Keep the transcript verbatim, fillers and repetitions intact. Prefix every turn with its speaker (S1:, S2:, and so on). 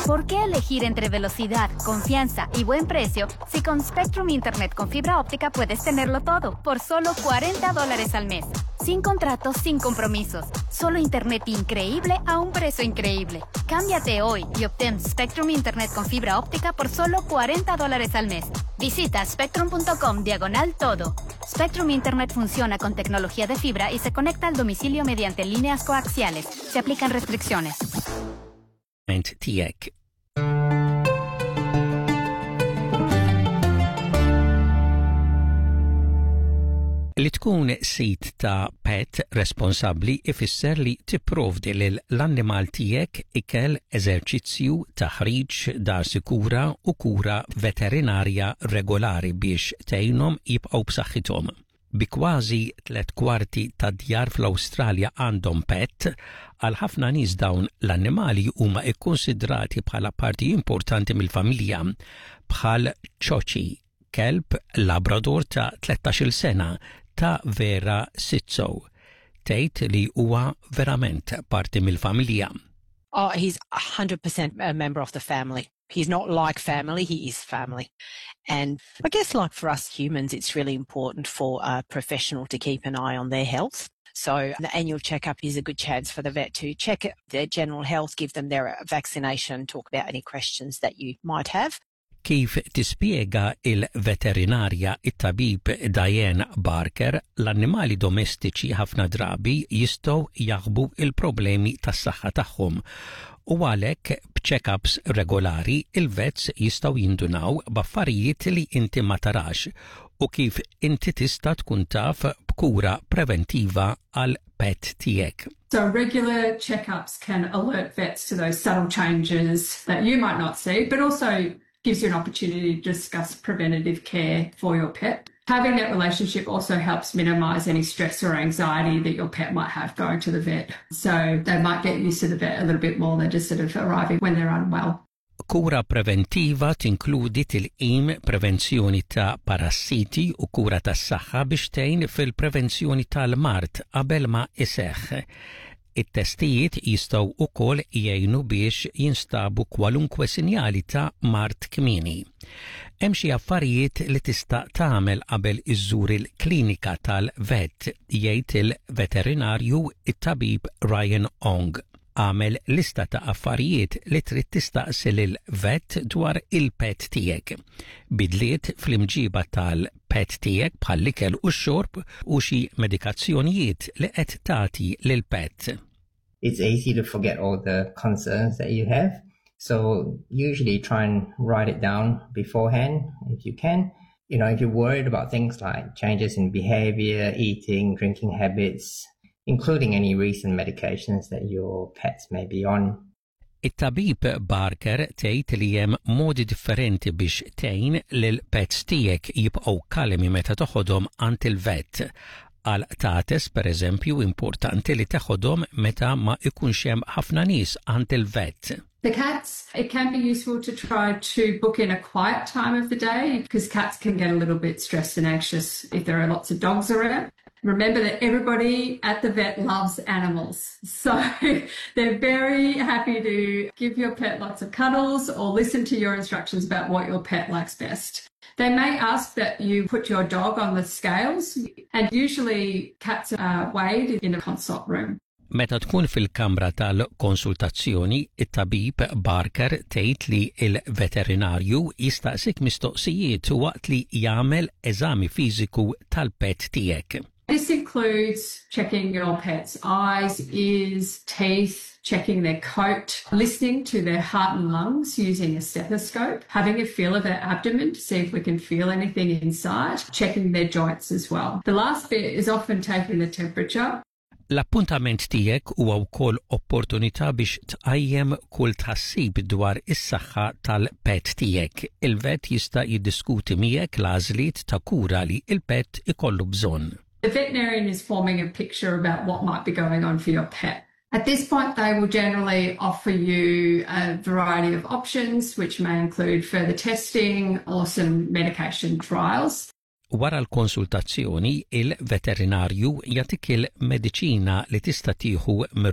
S1: ¿Por qué elegir entre velocidad, confianza y buen precio si con Spectrum Internet con fibra óptica puedes tenerlo todo por solo cuarenta dólares al mes? Sin contratos, sin compromisos. Solo internet increíble a un precio increíble. Cámbiate hoy y obtén Spectrum Internet con fibra óptica por solo cuarenta dólares al mes. Visita spectrum punto com diagonal todo. Spectrum Internet funciona con tecnología de fibra y se conecta al domicilio mediante líneas coaxiales. Se aplican restricciones.
S2: Tiegħek. Li tkun sid ta' pet responsabli ifisser li tipprovdi lil l-annimal tiegħek ikel, eżerċizzju, taħriġ, dar sikura u kura veterinarja regolari biex tgħinhom jibqgħu b'saħħithom. Bi kważi tlet kwarti ta' djar fl-Awstralja għandhom pet, għal ħafna nies dawn l-annimali huma ikkonsidrati bħala parti importanti mill-familja, bħal Chochi, kelb Labrador ta' tlettax-il sena ta' Vera Sitzo. Tgħid li huwa verament parti mill-familja.
S3: Oh, he's one hundred percent a member of the family. He's not like family, he is family. And I guess, like for us humans, it's really important for a professional to keep an eye on their health. So the annual checkup is a good chance for the vet to check their general health, give them their vaccination, talk about any questions that you might have.
S2: Kif tispjega il-veterinarja it-tabib Diane Barker, l-annimali domestiċi ħafna drabi jistgħu jaħbu il-problemi tas-saħħa tagħhom u għalhekk b'check-ups regolari il-vets jistgħu jindunaw b'affarijiet li inti ma tarax u kif inti tista' tkun taf b'kura preventiva għal pet tiegħek.
S4: So regular checkups can alert vets to those subtle changes that you might not see, but also gives you an opportunity to discuss preventative care for your pet. Having that relationship also helps minimize any stress or anxiety that your pet might have going to the vet. So they might get used to the vet a little bit more than just sort of arriving when they're unwell.
S2: Kura preventiva tinkludi tilqim, prevenzjoni ta' parassiti u kura tas-saħħa biex tgħin fil-prevenzjoni tal-mard qabel ma iseħħ. It-testijiet jistgħu wkoll jgħinu biex jinstabu kwalunkwe sinjali ta' mard kmieni. Hemm xi affarijiet li tista' tagħmel qabel iżżur il-klinika tal-vet, jgħid il-veterinarju it-tabib Ryan Ong. Għamel lista ta' affarijiet li trid tistaqsi lil vet dwar il-pet tiegħek. Bidliet fl-imġiba tal-pet tiegħek bħall-ikel u x-xorb u xi medikazzjonijiet li qed tagħti lil pet.
S5: It's easy to forget all the concerns that you have. So usually try and write it down beforehand if you can. You know, if you're worried about things like changes in behavior, eating, drinking habits, including any recent medications that your pets may be on.
S2: It-tabib Barker tgħid li hemm modi differenti biex tgħin lil pets tiegħek jibqgħu kalmi meta toħodhom għand il-vet. Għal qtates, per eżempju, importanti li teħodhom meta ma ikunx hemm ħafna nies għand il-vet.
S4: The cats, it can be useful to try to book in a quiet time of the day because cats can get a little bit stressed and anxious if there are lots of dogs around. Remember that everybody at the vet loves animals. So they're very happy to give your pet lots of cuddles or listen to your instructions about what your pet likes best. They may ask that you put your dog on the scales, and usually cats are weighed in a consult room.
S2: Meta tkun fil-kamra tal-konsultazzjoni, it-tabib Barker tgħid li il-veterinarju jistaqsik mistoqsijiet waqt li jagħmel eżami fiżiku tal-pet tiegħek.
S4: This includes checking your pet's eyes, ears, teeth, checking their coat, listening to their heart and lungs using a stethoscope, having a feel of their abdomen to see if we can feel anything inside, checking their joints as well. The last bit is often taking the temperature.
S2: L-appuntament tiegħek huwa wkoll opportunità biex tqajjem kull tħassib dwar is-saħħa tal-pet tiegħek. Il-vet jista' jiddiskuti miegħek l-għażliet ta' kura li il-pet ikollu bżonn.
S4: The veterinarian is forming a picture about what might be going on for your pet. At this point, they will generally offer you a variety of options, which may include further testing or some medication trials.
S2: Wara l-konsultazzjoni, il-veterinarju jagħtik il-mediċina li tista' tieħu.